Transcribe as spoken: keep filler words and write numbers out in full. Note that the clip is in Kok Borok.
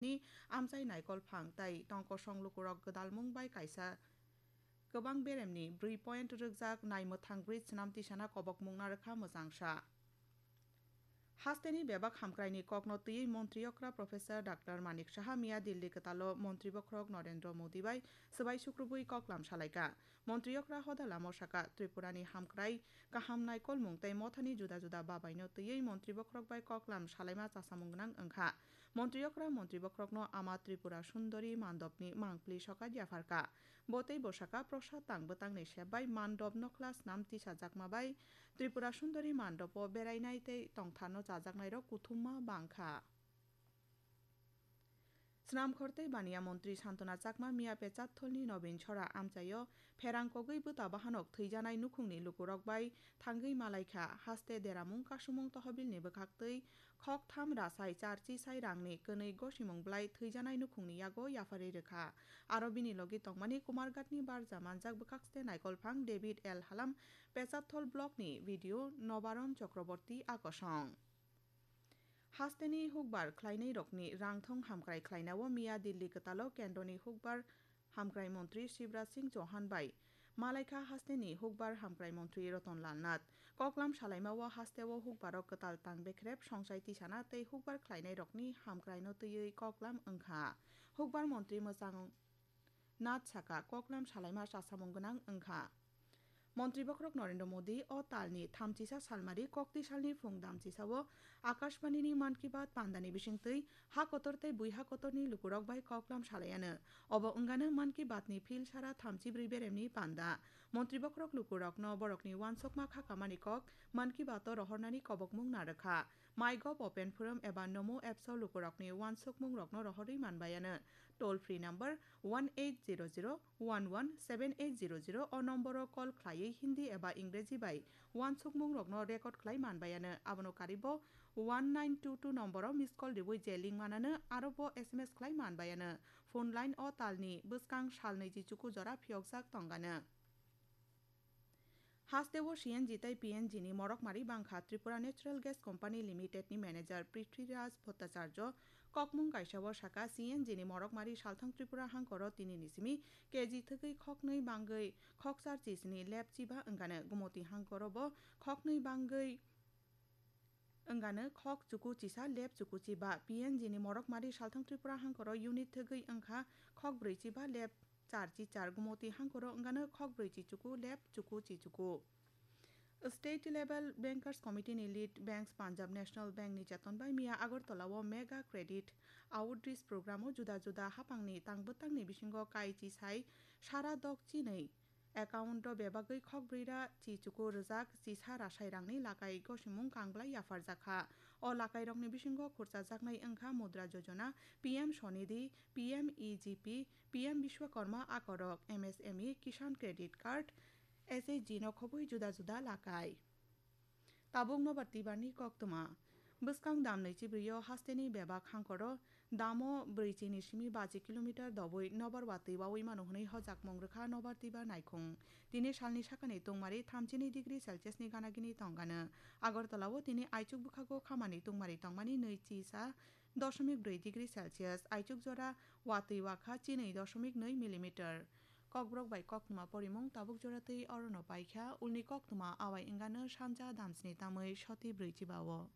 ni amchai naikol phang tai tongkosong lukurok gwdalmung bai kaisa kwbang beremni brwi point rwkjak naimwthang bridge swnam tisana kobokmung narwkha mwchangsa. Hasteni bebak hamkraini kokno twiwi montri okra Professor Doctor Manik Saha miya Delhi kwtalo montri bokhorok Narendra Modi bai swbai sukrubwi koklam salaikha. Montri okra hoda lamo saka, Tripurani hamkrai, kaham naikolmung tei mothani juda juda babaino twiwi montri bokhorok bai koklam salaima chasamung gwnang wngkha. Montri okra montri bokhorokno ama Tripura Sundori mandopni mangpli sokat yapharkha. Bo tei bo saka Prasad tang bwtangni sep bai mandop nokhla snam tisajakma bai Tripura Sundori mandopo berainai tei tongtharno chajaknairok kuthumma bangkha. Snamkhor tei baniya montri Santona Chakma miya Pechatholni Nobin Chora amchaio pherang kogwi bwta bahanok thwijanai nukhungni lukurok bai thangwi malaikha. Haste deramung kasumung tohobilni bwkhaktwi khoktham rasai charchi sai rangni kwnwi gosimung bwlai thwijanai nukhungni yago yapharwi rwkha. Aro bini logi tongmani Kumarghatni barja manjak bwkhakste naikolphang David L Halam, Pechatthol blockni B D O Nobaron Chakraborty akosong. Hasteni hukbar khlainairokni rangthong hamkrai khlainao miya Delhi kwtalo kendroni hukbar hamkrai montri Shivraj Singh Chauhan bai malaikha hasteni hukbar hamkrai montri Ratan Lal Nath. Koklam salaimao hasteo hukbarok kwtal tang bekrep songchai tisana tei hukbar khlainairokni hamkraino twiwi koklam wngkha. Hukbar montri mwchang Nath saka koklam salaima chasamung gwnang wngkha. Montri bokhorok Narendra Modi o talni thamchisa salmari kokti salni phung damchisao Akashbanini Mann Ki Baat pandani bisingtwi ha kotor tei bui ha kotorni lukurok bai koklam salaiano. Obo wngano Mann Ki Baatni phil sara thamchi brwi beremni panda. Montri bokhorok lukurokno borokni uansukma khakamani kok Mann Ki Baato rohornani kobokmung narwkha. MyGov Open Forum eba Namo Apps o lukurokni uansukmungrokno rohorwi manbaiano. Toll free number one eight zero zero one one seven eight zero zero o nomboro call khlaiwi Hindi eba Ingreji bai uansukmungrokno record khlai manbaiano. Abono karibo one nine two two nomboro missed call riwi je link manano aro bo S M S khlai manbaiano. Phone line o talni bwskang sal naichi chuku jora phiyokjak tongano. Hasteo C N G tei P N G ni morok mari bangkha. Tripura Natural Gas Company Limited ni manager Prithviraj Bhattacharya kokmung kaisao saka, C N G ni morok mari salthang Tripura hangkoro tini ni simi K G thwgwi khoknwi bangwi khokchar chisni lep chiba wngkano. Gumoti hangkoro bo khoknwi bangwi wngkano khok chuku chisa lep chuku chiba. P N G ni morok mari salthang Tripura hangkoro unit thwgwi wngkha khok brwi chiba lep char chi char. Gumoti hangkoro wngkano khok brwi chi chuku lep chuku chi chuku. State Level Bankers Committee ni lead banks Punjab National Bank ni cheton bai miya Agartala o Mega Credit Outreach Program o juda juda hapangni tang bwtangni bisingo kai chi sai sara dok chinwi account o bebagwi khok brwi ra chi chuku rwjak chisa rasai rangni lakai gosimung kangblai yapharjakha. O lakairokni bisingo khurchajaknai wngkha Mudra Jojona, P M Swanidhi, P M E G P, P M Bishwakarma akorok, M S M E, Kisan Credit Card, S H G no khobwi juda juda lakai. Tabuk nobar twibarni koktwma. Bwskang dam naichi brio hasteni bebak hangkoro damo brwi chini simi baji kilometer dobwi nobar watwi wawi mano hwnwi hojakmung rwkha nobar twibar naikhung. Tini salni sakani tungmari thamchini degree Celsius ni ganagini tongano. Agartala o tini aichuk bwkhago khamani tungmari tongmani nwi chisa doshomik brwi degree Celsius, aichuk jora watwi wakha chinwi doshomik nwi millimeter. Kokborok bai koktwma porimung tabuk jora twi orono paikha, ulni koktwma awai wngano sanja damsni tamwi soti brwi chiba o.